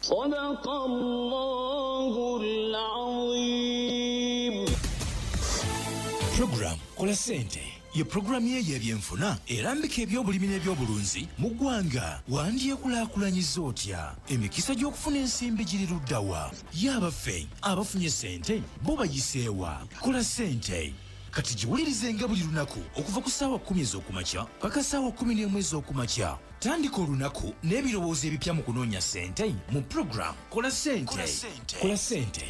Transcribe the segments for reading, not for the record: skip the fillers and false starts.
صدق الله العظيم. Program Kola Ssente ye pulogulaamu ye ey'ebyenfuna erambika ebyobulimi n'ebyobulunzi mu ggwanga. Wandyekulaakulanyiza otya? Emikisa gy'okufuna ensimbi giri ludda wa? Ye abaffe abafunye ssente bo bayiseewa? Kola Ssente kati giwulirizenga buli lunaku okuva ku ssaawa 10 ez'okumakya paka ssaawa 11 ez'okumakya. Tandika olunaku n'ebirowoozo ebipya mu kunoonya ssente mu pulogulaamu Kola Ssente. Kola Ssente.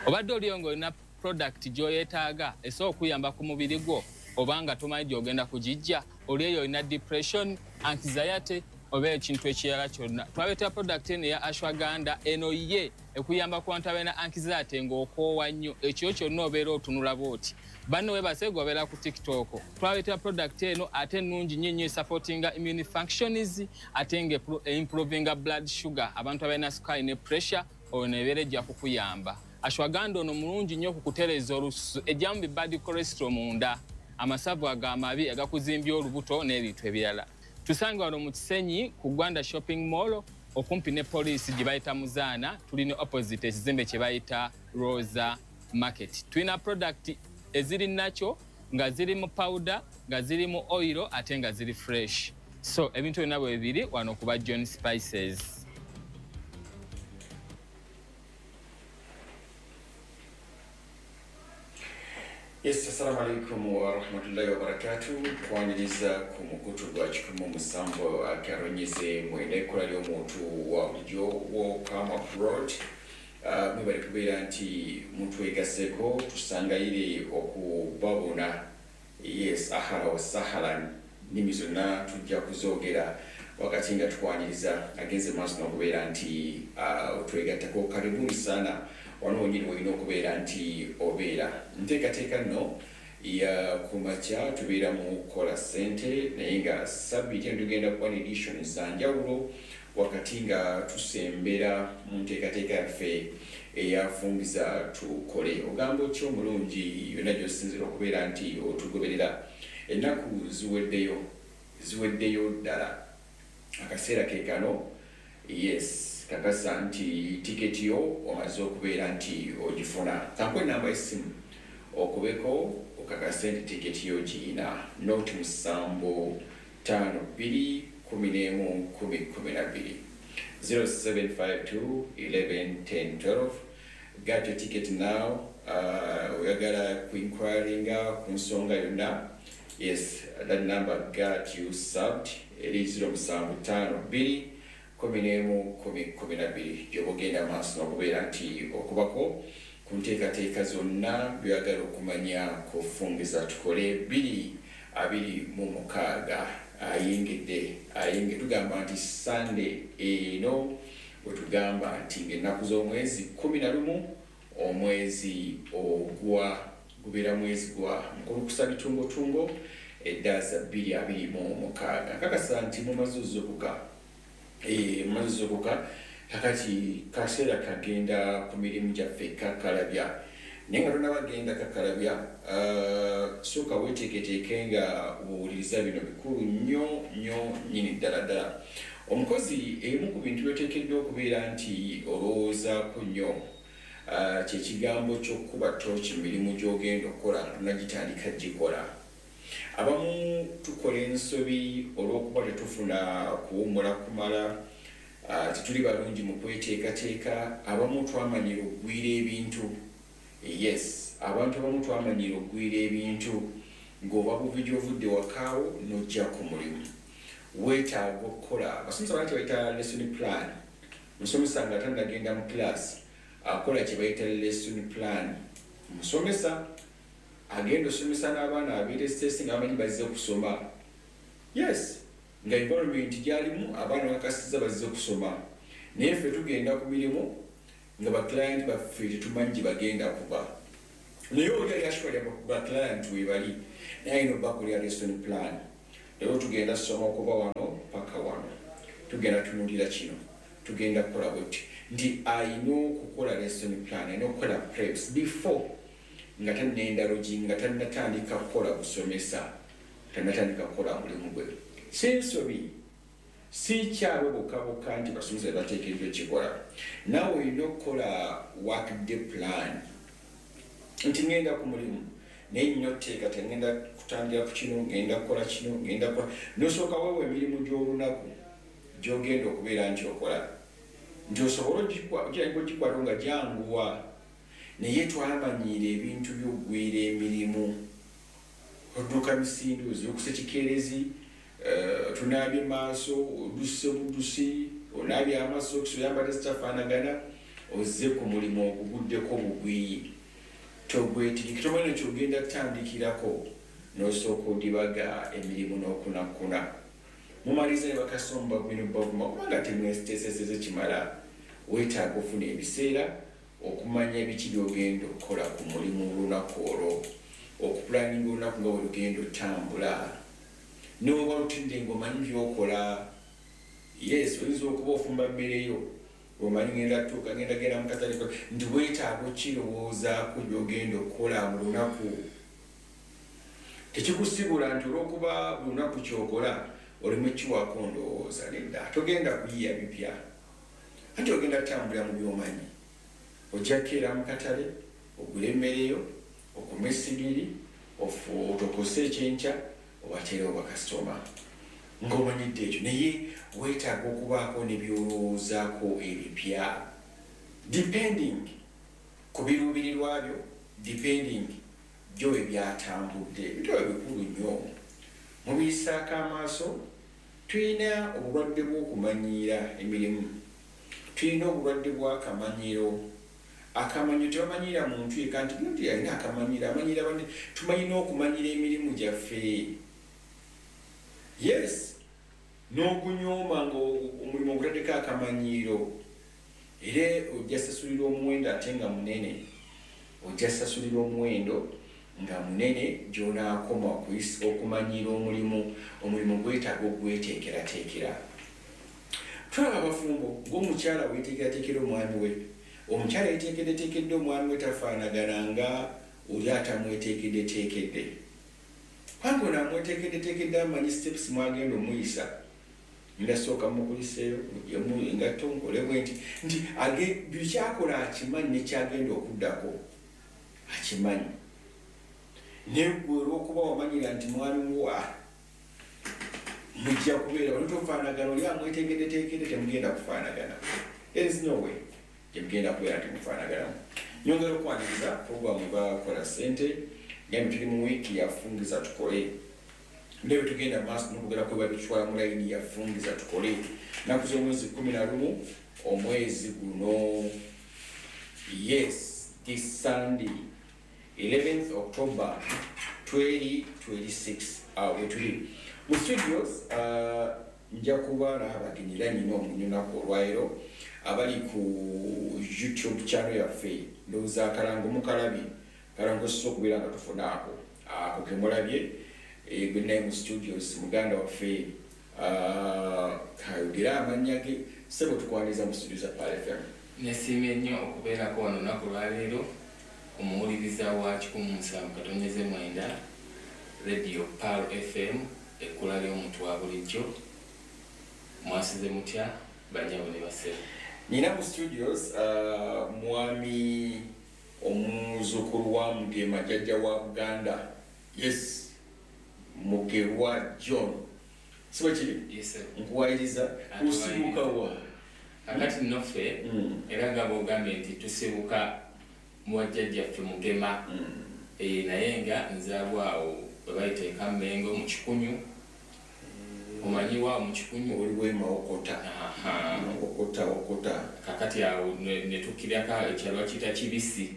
Obadde oliyo ng'olina product gy'oyeetaaga esobola okuyamba ku mubiri gwo, oba nga tomanyi gy'ogenda kugijja, oli eyo olina depression, anxiety oba ekintu ekirala kyonna. Twaleeta product eno eya ashwagandha, eno ye ekuyamba ku bantu abalina anxiety ng'okoowa nnyo, ekiro kyonna obeera otunula bw'oti. Banno weebase gwe obeera ku TikTok. Twaleeta product eno ate nnungi nnyo nnyo, esupportinga immune functions ate nga improvinga blood sugar. Abantu abalina sukaali ne pressure, ono ebeera ejja kukuyamba. Ashwagandha ono mulungi nnyo ku kutereeza olususu, ejjamu bi bad cholesterol munda, amasavu ag'amabi agakuzimbya olubuto n'ebintu ebirala. Tusange wano mu Kisenyi ku Gwanda Shopping Mall okumpi ne poliisi gye bayita Muzaana, tuli ne opposite ekizimbe kye bayita Rosa Market. Tulina product eziri nakyo nga ziri mu powder, nga ziri mu oil ate nga ziri fresh. So ebintu byonna bwe biri wano kuba John Spices. Yes, assalamu alaikum wa rahmatullahi wa barakatuh. Kwaniriza ku mukutu gwa 107 akaronyeze mwenda ekkola ly'omuntu wa bulijjo Welcome Abroad. Mwebale kubeera nti mutwegaseeko, tusangayire okubabona. Yes, ahala wa sahalan, nnimi zonna tujja kuzoogera wakati nga tukwaniriza agenze maaso n'okubeera nti otwegattako. Karibuni sana, wano wonyini wolina okubeera nti obeera. Nteekateeka nno ya kumakya tubeera mu Kola Ssente, naye nga sabbiiti eno tugenda kuba ne edition za njawulo wakati nga tusembera mu nteekateeka yaffe eyafungiza tukole. Ogamba otya omulungi yonna gy'osinziira okubeera nti otugoberera? Ennaku ziweddeyo, ziweddeyo ddala, akaseera ke kano. Yes, kakasa nti tiketi yo omaze okubeera nti ogifuna. Kankuwe enamba y'essimu okubeko okakase nti tiketi yo giyina: 0 752 11 10 12, 0752 11 10 12. Get your ticket now. Oyagala ku inquiringa ku nsonga yonna, yes, that number got you served, eri 0752 11 10 12, gyoba ogenda maaso n'okubeera nti okubako ku nteekateeka zonna byoyagala okumanya kufungiza tukole 2026. Ayingidde ayinge, tugamba nti Sunday eno bwetugamba nti ng'ennaku z'omwezi 11, omwezi ogwa gubeera mwezi gwa mukulukusa bitungotungo, eddaza 2026. Nkakasa nti mumaze ozuukuka. Mumaze ozuukuka, kakati kaseera kagenda ku mirimu gyaffe kakalabya, naye nga tonabagenda kakalabya, sooka weeteeketeeke nga buwuliriza bino bikulu nnyo nnyo nnyini ddala ddala. Omukozi, ebimu ku bintu byoteekeddwa okubeera nti olowoozaako nnyo kyekigambo ky'okukuba tooki mu mirimu gy'ogenda okukola nga tonagitandika gikola. Abamu tukola ensobi olw'okuba tetufuna kuwummula kumala, tetuli balungi mu kweteekateeka. Abamu twamanyira okugwira ebintu. Yes, abantu abamu twamanyira okugwira ebintu ng'oba buvi gy'ovudde wakaawo n'ojja ku mulimu. Weetaaga okukola, abasomesa bana kye bayita lesson plan. Musomesa nga tannagenda mu class akola kye bayita lesson plan. Musomesa agenda osomesa n'abaana abeeteesiteesi nga bamanyi bazze kusoma. Yes, nga environment gyalimu abaana bakakasiza bazze kusoma, naye ffe tugenda ku mirimu nga baclient baffe tetumanyi gye bagenda kuba, naye oli ali asure baclient webali, naye alina obakolera lesson plan. Leero tugenda soma okuva wano paka wano, tugenda tunulira kino, tugenda kukola bwetti, nti alina okukola lesson plan, alina okukola preps before nga tanendalogi, nga tannatandika kukola busomesa, tannatandika kukola mulimu gwe. Si nsobi. Si kyabwe bokka bokka nti basomesa bateekeddwa ekikola, naawe olina okukola work day plan nti ngenda ku mulimu naye nnina otuteeka, tengenda kutandira ku kino, ngenda kukola kino, ngenda kukola. Nosooka weewa emirimu gy'olunaku gy'ogenda okubeera nti okola, nti osobole ogikwata nga gyanguwa. Naye twamanyiira ebintu by'oggwira emirimu, odduka misinde, ozuukusa kikeerezi, tunaabye maaso, odusse budusi, onaabye amasokisi, oyambadde zitafaanagana, ozze ku mulimu oguguddeko bugwi, togwetegeke, tomanyi kyogenda kutandikirako, n'osooka odibaga emirimu n'okunakuna. Mumaliza ne bakasomba bino bavuma kubanga temwesiteeseseze kimala. Weetaaga ofuna ebiseera okumanya biki by'ogenda okukola ku mulimu olunaku olwo, okupulaninga olunaku nga bwe lugenda otambula, n'oba lutudde ng'omanyi by'okola. Yes, oyinza okuba ofumba mmere yo, omanyi ngenda tuuka, ngenda genda mu katale, nti weetaaga okirowoozaako by'ogenda okukola mu lunaku. Tekikusibula nti olw'okuba buli lunaku ky'okola oleme kiwaako ndowooza. Nedda, togenda kuyiya bipya, anti ogenda kutambulira mu by'omanyi. Ojja kukeera mu katale, ogule emmere yo, okume essigiri, otokose ekyenkya, obateerewo bakasitoma ng'omanyidde ekyo. Naye weetaaga okubaako ne by'olowoozaako ebipya, depending ku biruubirirwa byo, depending gyo ebyatambudde. Ebintu ebyo bikulu nnyo, mubiyisaako amaaso. Tulina obulwadde bw'okumanyiira emirimu, tulina obulwadde bw'akamanyiiro. Akamanyiiro tebamanyiira muntu yekka nti gundi alina akamanyiiro, amanyiira banne. Tumanyi n'okumanyiira emirimu gyaffe. Yes, n'ogunyooma nga omulimu ogutaddeko akamanyiiro, era ojja sasulira omuwendo ate nga munene. Ojja sasulira omuwendo nga munene gy'onaakoma okumanyiira omulimu. Omulimu gwetaaga ogweteekerateekera. Tulaba abafumbo ng'omukyala weeteekerateekera omwami we. Omukyala yeeteekeddeteekedde omwami we tafaanagana nga oli atamweteekeddeteekedde, kubanga ono amweteekeddeteekedde amanyi steps mwagenda omuyisa. Ndasooka mukuliseeyo, muggyemu engatto, nkole bwe nti, nti buli kyakola akimanyi, nekyagenda okuddako akimanyi. Naye gwe olw'okuba wamanyira nti mwami wa mujja kubeera wano tofaanagana, oli amweteekeddeteekedde, temugenda kufaanagana. There is no way temugenda kubeera nti mufaanaganamu. Nyongera okwaniriza programu bakola ssente. Gambe tuli mu wiiki yafungiza tukole, ndebe tugenda maaso n'okwogera ku babitwala mu layini yafungiza tukole. Nnaku z'omwezi 11 omwezi guno, yes, this Sunday 11th October 2026. Awo wetuli mu studios. Nja kuba n'abagenyi era nyina omunyunaku olwaleero. Abali ku YouTube channel yaffe, ndowooza akalango mukalabye, akalango sosa okubeera nga tufuna ako ako kemulabye. Gwe naye mu studios muganda waffe, kayogere amannya ge. Sebo, tukwaniriza mu studio za Pearl FM. Nesiimye nnyo okubeerako wano olunaku lwaleero. Omuwuliriza wa 107.9 Radio Pearl FM, ekkula ly'omuntu wa bulijjo, mwasize mutya bannyabo ne bassebo? Nina mu studios mwami omuzukulu wa Mugema, jjajja wa Buganda, yes, Mugerwa John, si bwe kiri? Yes, sir. Nkuwayiriza. Osibuka wa? Kakati nno ffe, era nga bwogambye nti tusibuka mu wajjajjaffe Mugema. Naye nga nzaalwa awo bwe bayita e Kammengo mu Kikunyu. Omanyiwaawo mu Kikunyu? Oli wemawokota? Aha. Okota okota. Kakati awo ne tukkirako ekyalo bakiyita Kibisi.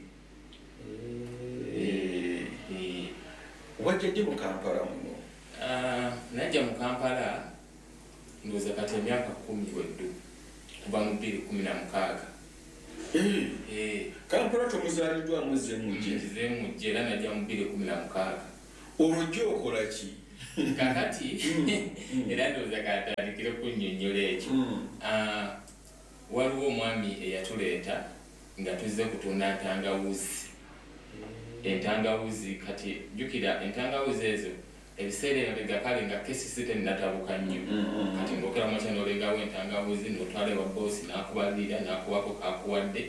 Wajja ddi mu Kampala muno? Ah, najja mu Kampala ndowooza kati emyaka 10 weddu, kuva mu 2016. Kampala tomuzaaliddwamu, muzze mujje? Nzize mujje, era najja mu 2016. Olwo jjo okola ki? Kakati era ndowooza katandikire kunnyonnyola ekyo. Ah, waliwo omwami eyatuleeta nga tuzze kutunda ntangawuzi, entangawuzi. Kati jjukira entangawuzi ezo Ebiseera emabega kale nga KCC tennatabuka nnyo. Kati ng'okera mu makya n'olengawo entangawuzi n'otwala ewa bboosi n'akubalirira n'akuwako k'akuwadde,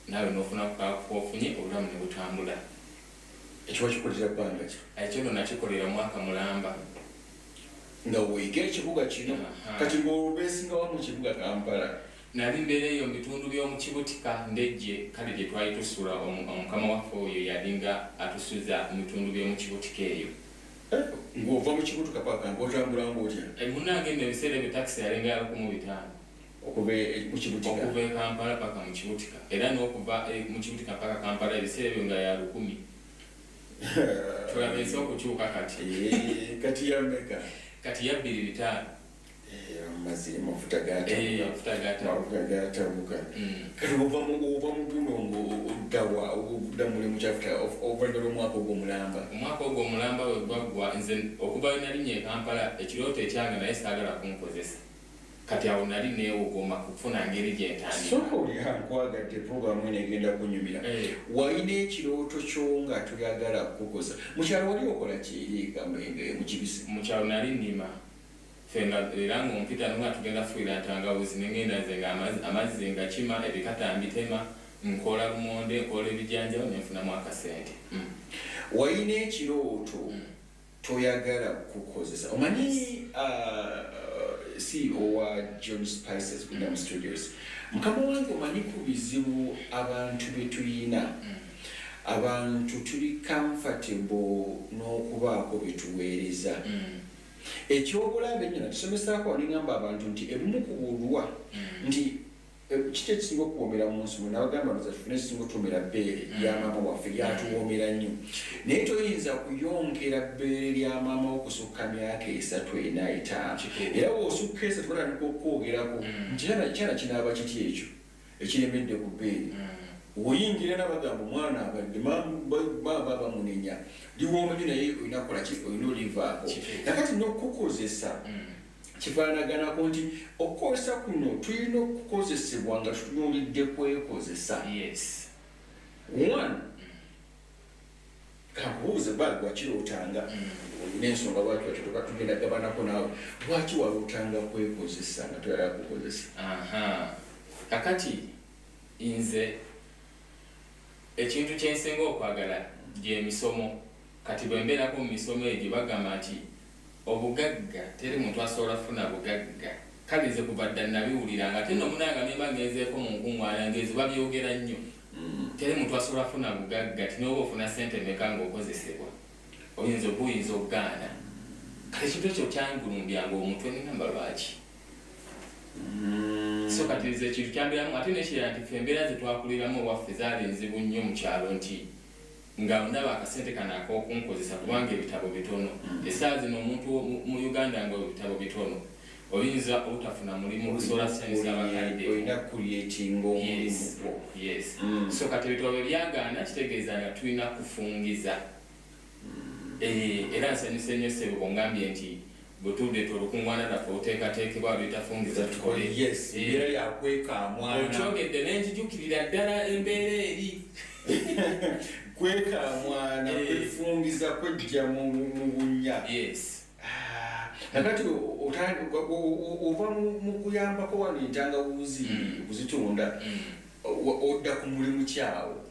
naawe n'ofunako k'ofunye, obulamu ne butambula. Ekyo wakikolera bbanga ki? Ekyo nno nakikolera mwaka mulamba. Nga weeyiga ekibuga kino. Kati ng'obeesingawa mu kibuga Kampala? Nali mbeera eyo mu bitundu by'omu Kibutika, Ndejje, kale gye twali tusula. Omukama waffe oyo yalinga atusuza mu bitundu by'omu Kibutika eyo. Ng'ova mu Kibutika paka ng'otambula ng'otya? Munnange nno ebiseera ebyo takisi yalinga ya 1500. Okuva mu Kibutika? Okuva e Kampala paka mu Kibutika, era n'okuva mu Kibutika paka Kampala ebiseera ebyo nga ya 1000. Tulaba ensi okukyuka kati. Kati ya mmeka? Kati ya 2500. Amazzi, amafuta gatabuka. Amafuta gatabuka. Amafuta gatabuka. Kati ova mu guno ng'oddawa, odda mulimu kyafuta oluvannyuma lw'omwaka ogwo omulamba? Omwaka ogwo omulamba bwe gwaggwa, nze okuva lwe nalinnya e Kampala ekirooto ekyange naye saagala kunkozesa. Kati awo nali neewogoma kufuna ngeri gye ntandika. Sooka olya, nkwagadde, puroguramu eno egenda kunyumira. Walina ekirooto kyo nga toyagala kukukoza. Mu kyalo wali okola ki eri mu Kibisi? Mu kyalo nali nnima. Ffe nga era ng'ompita nga tugenda kufuuyira ntangawuzi ne ngenda nze nga amazzi nga kima, ebikata mbitema, nkoola lumonde, nkoola ebijanjaalo ne nfunamu akasente. Walina ekirooto toyagala kukozesa. Omanyi CEO wa John Spices Goodam Studios, mukama wange, omanyi ku bizibu abantu bye tuyina, abantu tuli comfortable n'okubaako bye tuweereza. Ekyobulabe ennyo nakisomesaako, neŋŋamba abantu nti ebimu ku bulwa nti kiki ekisinga okuwoomera mu nsi muno, nabagamba nti tufune ekisinga otuwoomera bbeere lya maama waffe, lyatuwoomera nnyo, naye toyinza kuyonkera bbeere lya maama wo kusukka myaka 3, 4, 5. Era bw'osukka 3 batandika okwogerako nti kyana kinaaba kiti ekyo ekiremedde ku bbeere. Oyingira nabagamba omwana abadde baba bamunenya, liwooma nnyo, naye olina kukola ki? Olina olivaako. Nakati n'okukozesa kifaanaganako nti okukozesa kuno tulina okukozesebwa nga tutunuulidde kwekozesa. One, kankubuuze, ba wakirootanga, olina ensonga lwaki wakirooka, tugenda gabanako naawe, lwaki walootanga kwekozesa nga toyagala kukozesa? Kakati nze ekintu kyensinga okwagala gy'emisomo. Kati bwe mbeerako mu misomo egyo bagamba nti obugagga teri muntu asobola kufuna bugagga. Kale nze kuva dda nabiwuliranga, ate nno munnange ne mba ngenzeeko mu nkuŋŋaana ng'ezo babyogera nnyo. Teri muntu asobola kufuna bugagga, ti n'oba ofuna ssente mmeka ng'okozesebwa oyinza obuyinza okugaana. Kati ekintu ekyo kyangulumbyanga omutwe ne ŋŋamba lwaki? So kati nze ekintu kyambeeramu. Ate n'ekirala nti ffe embeera ze twakuliramu ewaffe zaali nzibu nnyo mu kyalo, nti nga ndaba akasente kano ak'okunkozesa kubanga ebitabo bitono. Essaawa zino omuntu mu Uganda nga ebitabo bitono, oyinza obutafuna mulimu okusobola kusanyusa abakadde. Olina creatinga omulimu gwo. Yes. So kati ebitabo bwe byagaana, kitegeeza nga tulina kufungiza. Era nsanyuse nnyo ssebo bw'ongambye nti bwe tuleeta olukuŋŋaana lwaffe oluteekateekebwa luyita Fungiza Tukole. Yes, embeera yakwekamwana. Okyogedde ne nzijukirira ddala embeera eri. Kwekamwana, kwefungiza, kwejja mu bunnya. Nakati ova mu kuyambako wano entangawuzi okuzitunda, odda ku mulimu kyawo?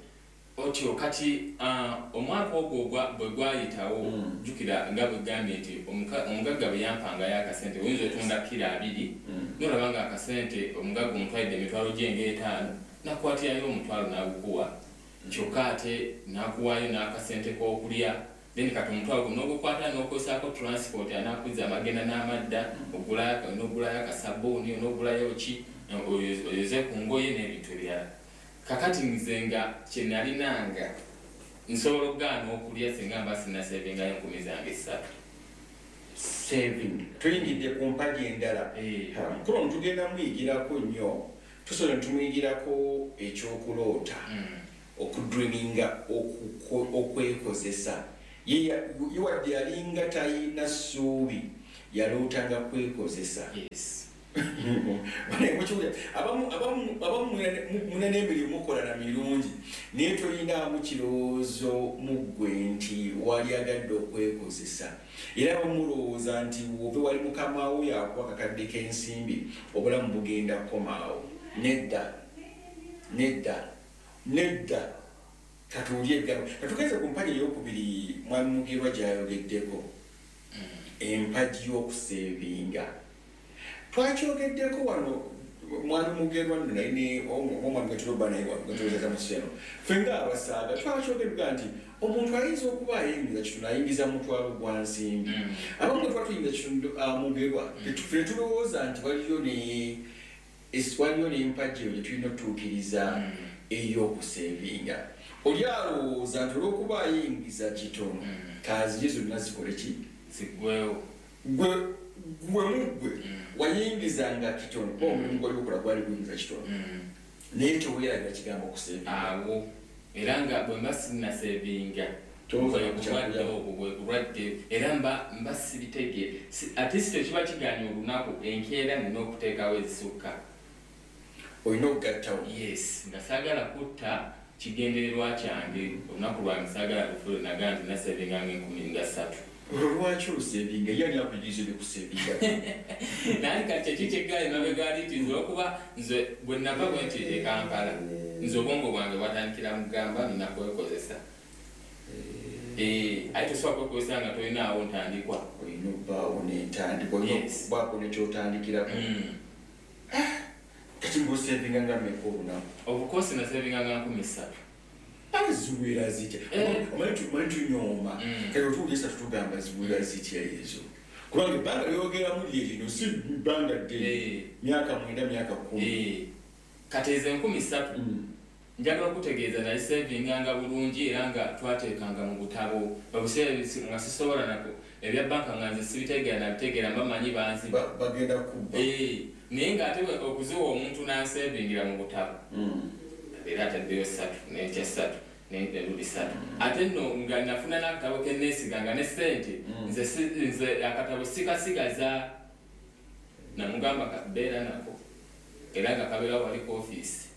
Otyo kati omwaka ogwo bwe gwayitawo, jjukira nga bwe gambye nti omugagga bwe yampangayo akasente, oyinza otunda kiro 20, nolaba nga akasente omugagga omutwalidde emitwalo gye ng'etaano, nakukwatirayo 500 n'agukuwa, kyokka ate n'akuwaayo n'akasente k'okulya. Then kati omutwalo guno n'ogukwata n'okozesaako transport anaakuzza amagenda n'amadda, n'ogulayo akasabbuuni, n'ogulayo ki, oyoze ku ngoye n'ebintu ebirala. Kakati nze nga kye nalinanga nsobola okugaana okulya singa mba sinnasevingayo 3,000 zange. Saving, tuyingidde ku mpagi endala. Mukulu ono tugenda muyigirako nnyo, tusobola tumuyigirako ekyokuloota, okudreaminga, okwekozesa. Ye wadde yalinga talina ssuubi, yalootanga kwekozesa. Abamu mulina n'emirimu mukola na mirungi, naye tolinaamu kirowoozo mu ggwe nti waliyagadde okwekozesa. Era bamulowooza nti wobe wali mukama wo yakuwa kakadde k'ensimbi, obulamu bugenda kukomaawo. Nedda, nedda, nedda. Katuwulye ebigambo. Katugenze ku mpagi eyokubiri mwami Mugerwa gy'ayogeddeko, empagi y'okusevinga. Twakyogeddeko wano mwami Mugerwa nno naye ne omwami Gatuloba naye wano gatulozaza mu sseno. Ffe ng'abasaaga twakyogedde nti omuntu ayinza okuba ayingiza kitono, ayingiza mutwalo gwa nsimbi. Abamu bwe tuba tuyingiza kitono, Mugerwa, ffe tulowooza nti waliyo n'empagi eyo gye tulina otutuukiriza ey'okusevinga. Oli alowooza nti olw'okuba ayingiza kitono, kaazirye zonna zikole ki? Ziggwewo. Gwe muggwe wayingizanga kitono, kuba omulimu gwali gukola gwali guyingiza kitono, naye teweerabira kigambo okusevinga. Awo era nga bwe mba sinnasevinga, bulwadde obwo bwe bulwadde, era mba sibitegeera. Ate si tekiba kiganye olunaku enkeera nina okuteekawo ezisukka. Olina okugattawo. Yes, nga saagala kutta kigendererwa kyange. Olunaku lwange saagala lufule nagaa nti nasevinga nga 30,000. Olwo lwaki osevinga? Ye ani akuyigiriza ebyokusevinga? Naye kati kyeki kyeggaali mabega ali nti nze olwokuba nze bwe nava bwe nti e Kampala, nze obwongo bwange bwatandikira mu kugamba nina kwekozesa. Aye tosobola kwekozesa nga tolinaawo ntandikwa. Olina obbaawo n'entandikwa, olina okubaako nekyotandikirako. Kati ng'osevinga nga mmeka olunaku? Obukosi nasevinga nga 3,000. Ate ziwera zitya? Omanyi tunyooma. Kati otuwulira esatu tugamba ziwera zitya ezo? Kubanga ebbanga lyogeramu lye lino si bbanga ddene, myaka 9, myaka 10. Kati ezo 3,000 njagala okutegeeza naziseevinganga bulungi, era nga twateekanga mu butabo. Obuseera nga sisobola nako ebya banka nga nze sibitegeera, nabitegeera mba manyi banziba. Bagenda kubba. Naye ng'ate okuziwa omuntu n'anseevingira mu butabo, era ataddeyo ssatu n'ekya ssatu n'eruli ssatu. Ate nno nga nafuna n'akatabo ke neesiga nga ne ssente nze akatabo sikasigaza, namugamba beera nako, era nga kabeera wali ku ofiisi.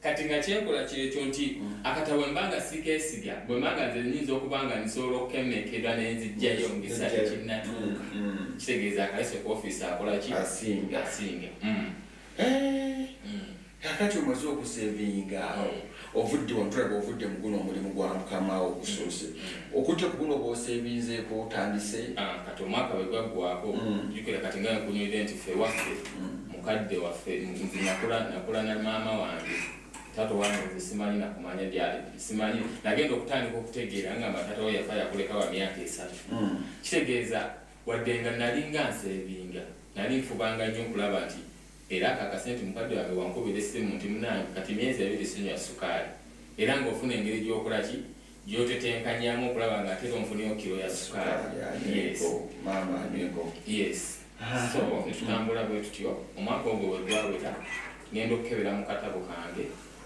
Kati nga kyenkola kyekyo nti akatabo bwe mba nga sikeesiga, bwe mba nga nze nnyinza okuba nga nsobola okukemekera ne nzijjayo mu bisa tekinnatuuka, kitegeeza akalese ku ofiisi akola ki? Asinga. Asinga. Kakati omaze okusevinga awo, ovudde wano, tulaba ovudde mu guno omulimu gwa mukama wo ogusoose, okujja ku guno bw'osevinzeeko otandise. Kati omwaka bwe gwaggwako, jjukira kati nga nkunyulire nti ffe waffe mukadde waffe, nze nakula na maama wange. Taata wange nze simanyi nakumanya gyali, simanyi. Nagenda okutandika okutegeera nga taata we yafa yakuleka wa myaka 3. Kitegeeza wadde nga nalinga nsevinga, nali nfubanga nnyo okulaba nti era ako akasente mukadde wange wankubira essimu nti munange kati myezi 2 sinywa sukaali, era ng'ofuna engeri gy'okola ki gy'otetenkanyamu okulaba nga ate onfunyeyo kiro ya sukaali. Yes. Maama anyweko. Yes. So netutambula bwe tutyo. Omwaka ogwo bwe gwawera, ngenda okukebera mu katabo kange,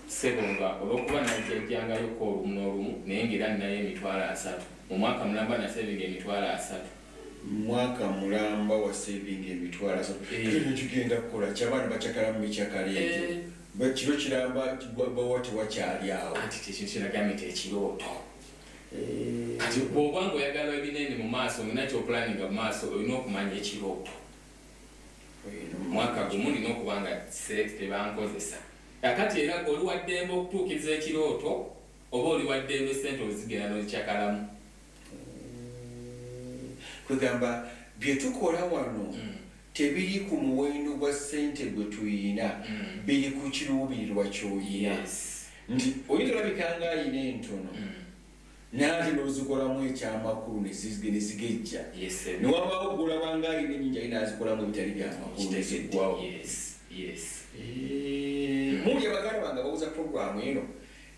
ssebo nga olw'okuba najjajjangayoko olumu n'olumu, naye ng'era ninayo 30,000. Mu mwaka mulamba nasevinga 30,000. Mwaka mulamba wasevinga 30,000. Kino kigenda kukola ki? Abaana bakyakala mu mikyakala egyo. Kiro kiramba bawa tewakyali awo. Anti ekintu kyenagambye nti ekirooto. Kati bw'oba ng'oyagala ebinene mu maaso, olina ky'opulaninga mu maaso, olina okumanya ekirooto. Mwaka gumu nina okuba nga tebankozesa. Kakati era oli wa ddembe okutuukiriza ekirooto, oba oli wa ddembe ssente ozigenda n'ozikyakalamu. Kwegamba bye tukola wano tebiri ku muwendo gwa ssente gwe tuyina, biri ku kiruubirirwa ky'oyina. Nti oyinza olabika nga ayina entono, naye ate n'ozikolamu ekyamakulu ne zigejja. Ne wabaawo gw'olaba nga ayina ennyingi aye n'azikolamu ebitali byamakulu ne ziggwawo. Muli abaganda bange ababuuza puroguramu eno,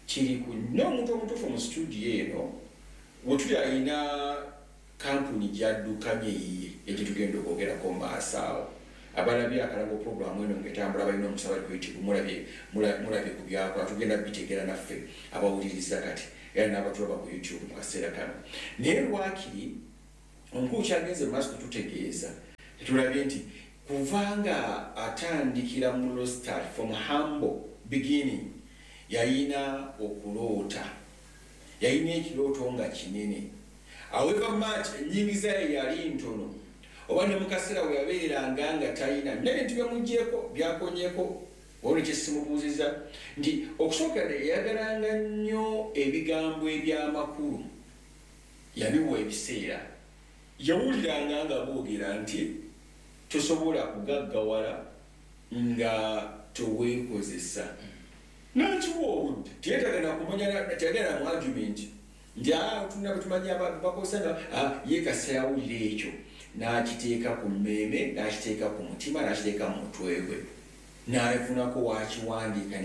kiri ku n'omuntu omutuufu mu situdiyo eno we tuli ayina kampuni gy'addukanya eyiye egye tugenda okwogerako mu maaso awo. Abalabye akalango puroguramu eno ng'etambula balina omusaba ku YouTube, mulabye ku byakola, tugenda bitegeera naffe abawuliriza kati era n'abatulaba ku YouTube mu kaseera kano. Naye lwakiri omukulu kyagenze mu maaso kututegeeza Tulabye nti kubanga atandikira mu low start, from humble beginning, yalina okuloota, yalina ekirooto nga kinene. However much ennyingiza ye yali ntono oba ne mu kaseera we yabeeranga nga talina, n'ebintu byemugyeko byakonyeko. Olwo kyesimubuuziza nti okusookera yayagalanga nnyo ebigambo ebyamakulu, yabiwa ebiseera. Yawuliranga nga boogera nti tosobola kugaggawala nga toweekozesa, nakiwa obudde. Teyetagana kumanya, teyagala mu argument nti tulina bwetumanyi bakozesa nga ye. Kasita yawulira ekyo n'akiteeka ku mmeeme, n'akiteeka ku mutima, n'akiteeka mu mutwe gwe, n'afunako wakiwandiika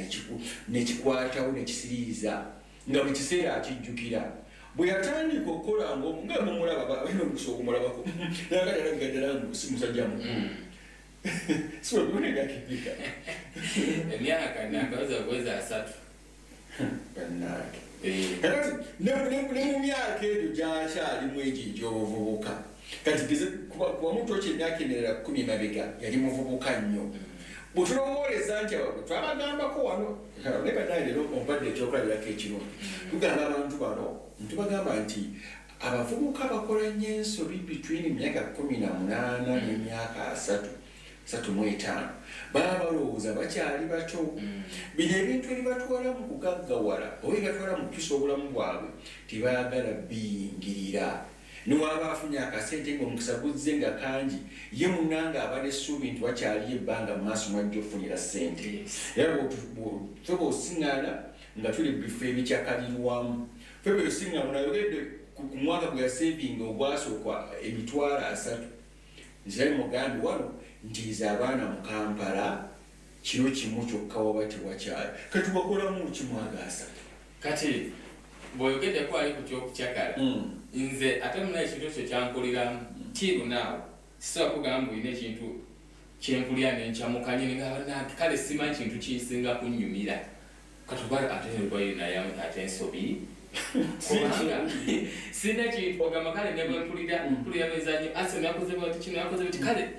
nekikwatawo nekisiriiza nga buli kiseera akijjukira. Bwe yatandika okukola nga mumulaba, balina omukisa okumulabako, nakati alabika ddala si musajja mukulu, siwebonegakibika. Emyaka nakaza kuweza 30. Bannange, kakati ne mu myaka egyo gyakyalimu egyo egy'obuvubuka, kati geze kuba mutu emyaka emirala 10 mabega yali muvubuka nnyo. Bwetulowooleza nti abo twabagambako wano naye bannange, leero ompadde ekyokulabirako ekirungi. Tugamba abantu bano, ntubagamba nti abavubuka bakola nnyo ensobi between emyaka 18 n'emyaka 30, 35. Baba balowooza bakyali bato. Bino ebintu ebibatwala mu kugaggawala oba ebibatwala mu kukyusa obulamu bwabwe tebaagala biyingirira. Niwaba afunye akasente ngaomukisa guzze nga kangi, ye munanga aba n'essuubi nti wakyaliyo ebbanga mu maaso mwajja okufunira ssente. Era ffe bw'osiŋŋaana nga tuli bifo ebikyakalirwamu, ffe bwosiŋŋaana nayogedde ku mwaka gwe yasevinga ogwasooka 300,000, nzirayo mugambi wano nti nze abaana mu Kampala kiro kimu kyokka waba tewakyali. Kati wakolamu kimwaga 30? Kati bw'oyogeddeko ali ku kyokukyakala, nze ate muna ekintu ekyo kyankuliramu till now. Sisobola kugamba olina ekintu kyenkulira nenkyamuka nyini. Kale simanyi kintu kinsinga kunnyumira kati oba ate naye ate ensobi, kubanga sina kintu ogamba kale ne bwempulira mpulira mizannyo, Arsenal yakoze bwati, kino yakoze bwati, kale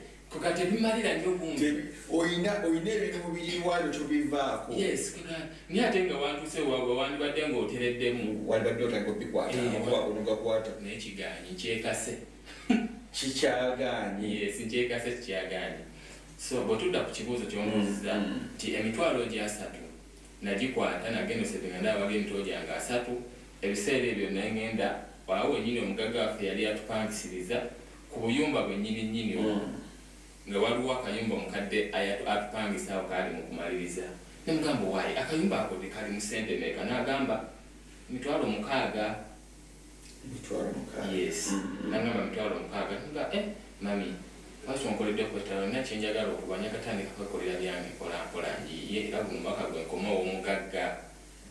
kati ebimalira nnyo bungi. Oyina ebintu mubiri waabyo tobivaako. Yes, naye ate nga wantuuse waabwe wandibadde ng'otereddemu. Wandibadde otandika obikwata amakubo nogakwata. Naye kigaanyi, nkyekase. Kikyagaanye. Yes, nkyekase, kikyagaanye. So bwe tudda ku kibuuzo ky'ombuuzizza nti emitwalo gye 30 nagikwata, nagenda osevinga, ndaba waliyo emitwalo gyange 30. Ebiseera ebyo naye ngenda waawo wennyini omugagga waffe yali atupangisiriza ku buyumba bwennyini nnyini obwo, nga waliwo akayumba omukadde atupangisa awo kaali mu kumaliriza. Nemugamba, waayi akayumba ako kali mu ssente meka? N'agamba 60,000. 60,000. Yes. Nagamba 60,000. Nga mami, lwaki onkoledde kwetala? Nina kyenjagala okuba nyakatandika kwekolera byange mpola mpola, njiye, era guno omwaka gwe nkomawo omugagga.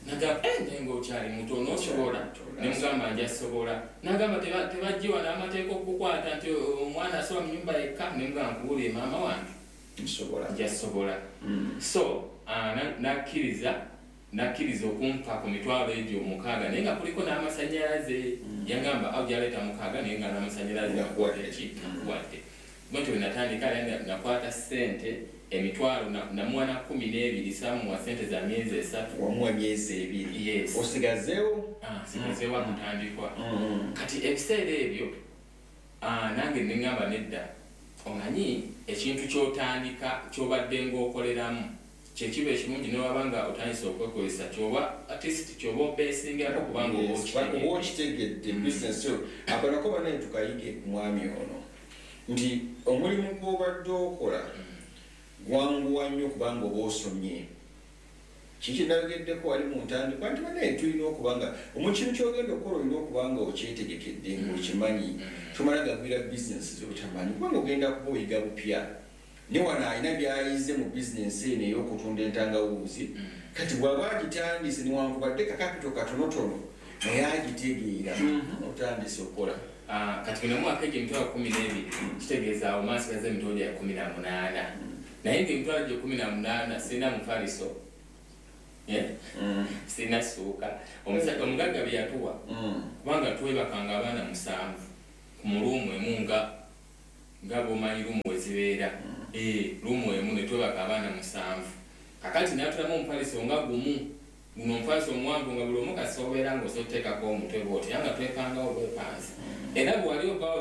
Nagamba, naye ng'okyali muto n'osobola? Nemugamba nja sobola. Nagamba tebajjiwa n'amateeka okukukwata nti omwana asoba mu nyumba yekka. Nemugamba, nkubuulire maama wange, nsobola. Nja sobola. So nakkiriza okumpa ku mitwalo egyo 60, naye nga kuliko n'amasanyalaze. Yagamba awo gyaleeta 60, naye nga n'amasanyalaze. Nakuwadde. Ki nakuwadde. Bwentyo bwe natandika, era nakwata ssente emitwalo namuwa na 12, saamuwa ssente za myezi 3. Wamuwa myezi 2? Yes. Osigazeewo? Ah, sigazeewo akutandikwa. Kati ebiseera ebyo nange neŋŋamba nedda, omanyi ekintu ky'otandika ky'obadde ng'okoleramu kyekiba ekirungi, newaba nga otandise okwekozesa kyoba at least kyoba obeesingako, kubanga oba Yes, okitegedde. Oba okitegedde bizinesi yo. Ako nako banaye tukayige ku mwami ono nti omulimu gw'obadde okola gwanguwa nnyo kubanga oba osomye. Kiki nayogeddeko wali mu ntandikwa nti banaye tulina okuba nga omukintu kyogenda okukola olina okuba nga okyetegekedde, ng'okimanyi. Tomala gagwira bizinesi zotamanyi, kubanga ogenda kuba oyiga bupya. Ne wano alina byayize mu bizinesi eno ey'okutunda entangawuuzi. Kati bw'aba agitandise, newankubadde ka capital katonotono, naye agitegeera, otandise okukola. Kati bino mwaka egyo 12,000, kitegeeza awo mansigaza emitwalo gya 18, naye nga emitwalo gye 18 sirina mufaliso. Eh? Sirina ssuuka. Omugagga bye yatuwa, kubanga twebakanga abaana 7 ku mu room emu, nga bw'omanyi room we zibeera. Room emu ne twebaka abaana 7. Kakati natulamu omufaliso nga gumu, guno omufaliso omuwanvu nga buli omu kasita obeera ng'osoteekako omutwe bw'oti, era nga twepangawo bwepanzi. Era bwe wali ovaawo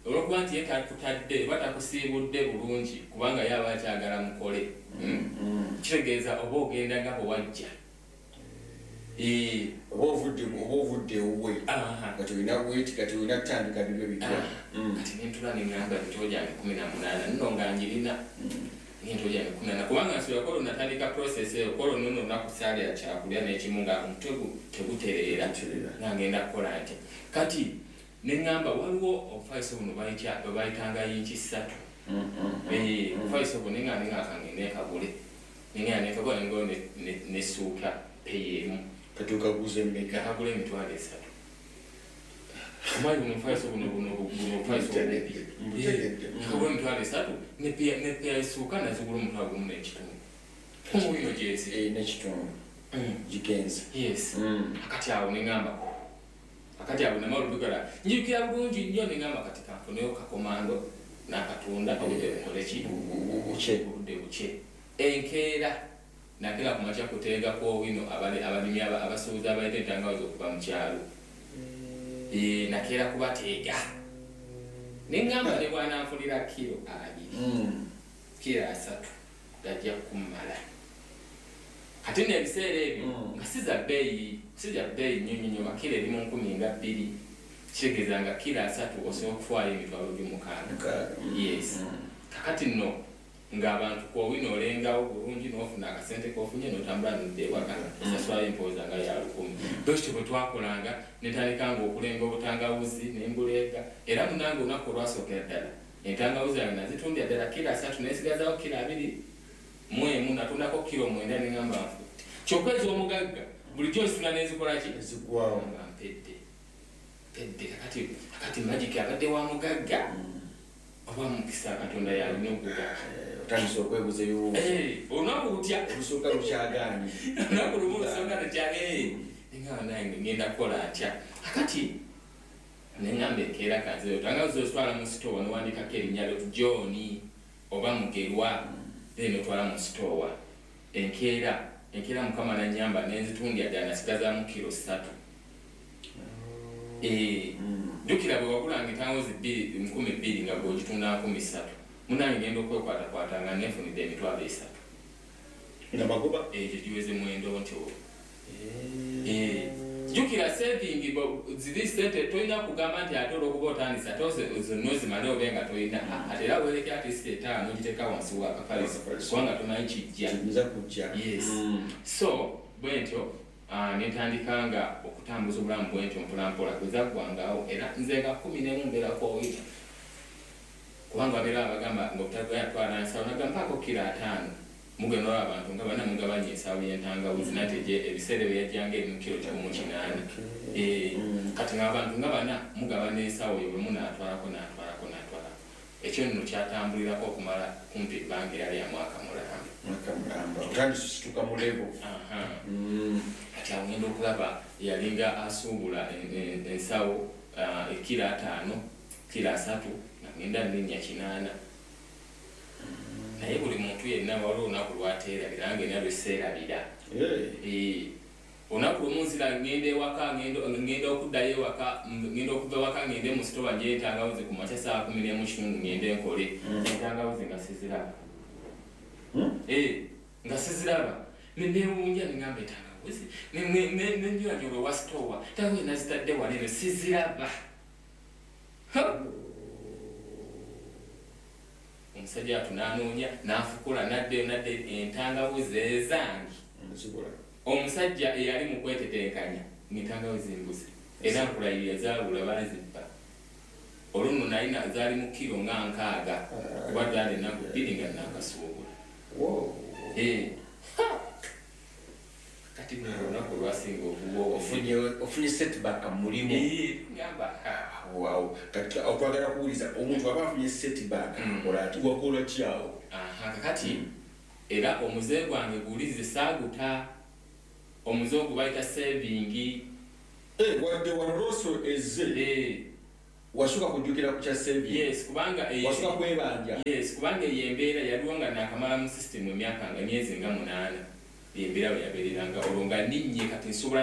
olw'okuba nti ye takutadde oba takusiibudde bulungi kubanga ye aba akyagala mukole. Kitegeeza oba ogenda nga bwe wajja. Oba ovudde ewuwe kati olina bweti, kati olina kutandika bibyo bitya. Kati nentula neŋŋamba emitolo gyange 18 nno nga njirina emitolo gyange 18 kubanga nsobola kola natandika process eyo kola nno olunaku saalya kyakulya n'ekimu nga omutwe tegutereera nga ngenda kukola ntya. Kati neŋŋamba waliwo obufaliso buno bwe bayitanga yinki 3. Obufaliso buno neŋŋamba nengamba nekagule, neŋŋamba nekagula nengoyo nesuuka peyi emu. Kati okaguza emmeka? Nakagula 30,000. Omanyi buno obufaliso buno obufaliso obubi. Nakagula 30,000 nepeya esuuka nazigula 15,000. Omubino gyezi. N'ekitundu gigenze. Yes. Akati awo neŋŋamba, akati awo namala olugala njijukira bulungi nnyo neŋŋamba kati kanfuneyo kakomando n'akatunda obudde bukole ki? Bukye. Obudde bukye. Enkeera nakeera ku makya kuteega kw'owino abalimi abasuubuzi abaleeta entangawuzi okuva mu kyalo. Nakeera kubateega. Neŋŋamba ne bw'ananfunira kiro 2, kiro 3 gajja kummala. Kati nno ebiseera ebyo nga si za bbeeyi, si za bbeeyi nnyo nnyo nnyo, nga kiro eri mu 20,000, kitegeeza nga kiro 3 osobola okutwala 600,000. Yes. Kakati nno ng'abantu kw'owino olengawo bulungi n'ofuna akasente k'ofunye n'otambula n'odda ewaka osasulayo empooza nga ya 1,000. Bwekityo bwe twakolanga ne ntandika nga okulenga obutangawuzi ne mbuleega, era munnange olunaku olwasookera ddala entangawuzi yange nazitundira ddala kiro 3 nensigazaawo kiro 21, natundako kiro 9 ne ŋŋamba nfudde. Kyokka ez'omugagga bulijjo nzitunda n'enzikola ki? Ezigwawo. Nga mpedde. Mpedde kakati magic abadde wa mugagga oba mukisa Katonda yalina okugaba. Otandise okwebuuza ebibuuzo. Olunaku lutya? Olusooka lukyagaanye. Olunaku lumu olusooka lukyagaanye. Neŋŋamba nange ngenda kukola ntya? Kakati neŋŋamba enkeera kanzeeyo tangawuzi ozitwala mu sitoowa n'owandiikako erinnya lyo John oba Mugerwa, then otwala mu sitoowa. Enkeera Mukama nannyamba nenzitundira ddala nasigazaamu kiro 3. Jjukira bwe wagulanga entangawuzi 2,000 nga gw'ogitunda 3,000. Munnange ngenda okwekwatakwata nga neefunidde 30,000. Nga magoba? Ekyo giweze mwendo ntyo. Jjukira saving ziri sente tolina kugamba nti ate olw'okuba otandise ate zonna ozimale obe nga tolina. Ate era weereke at least 5 ogiteeka wansi w'akafaliso kubanga tomanyi kijja. Kiyinza kujja. Yes. So bwe ntyo ne ntandika nga okutambuza obulamu bwe ntyo mpola mpola bwe zaggwangawo era nze nga 11 mbeerako owino. Kubanga babeera abagamba ng'obutagaya twala nsawo nagamba mpaako kiro 5. Mugenda olaba abantu nga bana mugabanya ensawo y'entangawuzi nate ebiseera bye yajjanga eri mu kiro 1800. Kati ng'abantu nga bana mugabana ensawo eyo buli omu n'atwalako n'atwalako n'atwalako. Ekyo nno kyatambulirako okumala kumpi ebbanga era lya mwaka mulamba. Mwaka mulamba. Otandise osituka mu level. Kati awo ngenda okulaba yalinga asuubula ensawo ekiro 5, kiro 3 nga ngenda nninnya 8. Naye buli muntu yenna waliwo olunaku lw'ateerabira nange nalwo seerabira. Olunaku lumu nzira ngenda ewaka, ngenda okuddayo ewaka, ngenda okuva ewaka ngende mu sitoowa ngye entangawuzi ku makya ssaawa 11:15 ngende nkole. Entangawuzi nga siziraba. Nga siziraba. Ne neewuunya ne ŋŋamba entangawuzi ne nnyolanyolwa ewa sitoowa, entangawuzi nazitadde wano eno siziraba. Omusajja wattu n'anoonya n'afukula n'addayo n'adda entangawuzi ezange. Omusajja eyali mu kwetetenkanya ng'entangawuzi mbuze era nkulayirira zaabula baazibba. Olwo nno nalina zaali mu kiro nga 60 kuba zaali ennaku 2 nga nnaakasuubula. Kati luno olunaku olwasinga okuba Ofunye setback mu mulimu. Ngamba Wow. Kati okwagala kuwuliza omuntu aba afunye setback akola ati wakola ki awo? Kakati era omuze gwange guwulirize saaguta, omuze ogwo bayita saving. Wadde wano loss ezze. Wasooka kujjukira ku kya saving? Yes, kubanga Wasooka kwebanja? Yes, kubanga eyo embeera yaliwo nga nakamala mu system emyaka nga myezi nga 8. Embeera we yabeereranga olwo nga ninnye, kati nsobola.